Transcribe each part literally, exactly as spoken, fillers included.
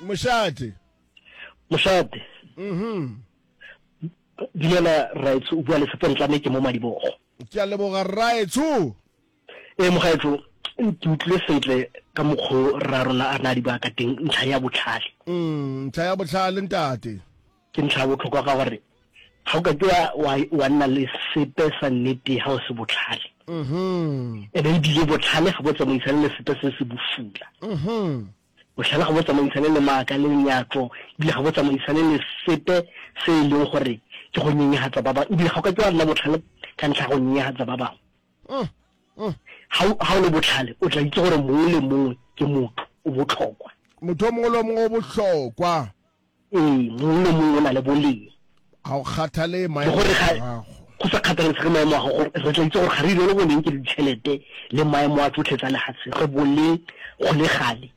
Mošate. Mošate. Mhm. Dumela Raetsho, o bua le Sepontlame ke mo Madibogo. Ke a leboga Raetsho. Ee mogaetsho, ke utlwile sentle ka mokgo rra rona a na di bua ka teng ntlha ya botlhale. Mm, ntlha ya botlhale ntate. Ke ntlha ya botlhokwa ka gore ga o ka ke wa, wa, wa nna le sepe sa nnete ga o se botlhale. Mhm. Ene ebile botlhale ga bo tsamaisane le sepe se se bosula. Mhm. Bohlale ga bo tsamaisane le maaka le lenyatšo, ebile ga bo tsamaisane le sepe se e leng gore ke go nyenyegatsa ba bangwe, ebile ga o ka ke wa nna bohlale ka ntlha ya go nyenyegatsa ba bangwe. Ga o, ga o le bohlale, o tla itse gore mongwe le mongwe ke motho, o bohlokwa. Motho o mongwe le o mongwe o bohlokwa. Ee, mongwe le mongwe o na le boleng. Ga o kgathale Le maemo gore a ga, gago. go sa kgathalesege maemo a gago, re tla itse gore ga re irele boleng ke ditšhelete le maemo a tsotlhe tsa lefatshe, re boleng go le gale,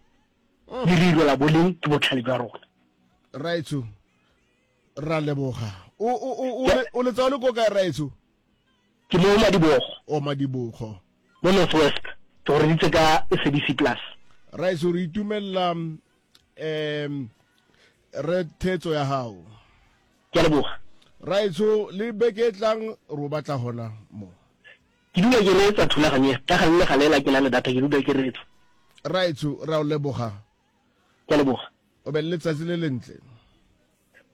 mme re irela boleng ke botlhale jwa rona. Raetsho, ra leboga. O, o, o, o, le, o letsa o le ko kae, Raetsho? Ke mo Madibogo. O Madibogo. Mo North West. Ke go reditse ka S A B C Plus. Raetsho, re itumelela um re thetso ya gago. Ke a leboga. Raetsho, le beke e tlang re o batla gona mo. Ke dula ke reetsa thulaganyo e, ka gale le gale la ke na le data ke dula ke reetsa. Raetsho, re a o leboga. Ke a leboga. O be le letsatsi le lentle.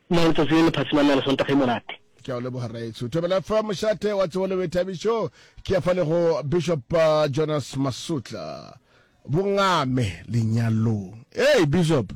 Nna letsatsi le le phatsimang na le Sontaga e monate. Ke a o leboga Raetsho. Thobela fa mošate wa tsebo le boithabišo ke ya fa le go Bishop uh, Jonas Masutla. Bongame lenyalong. Hey Bishop.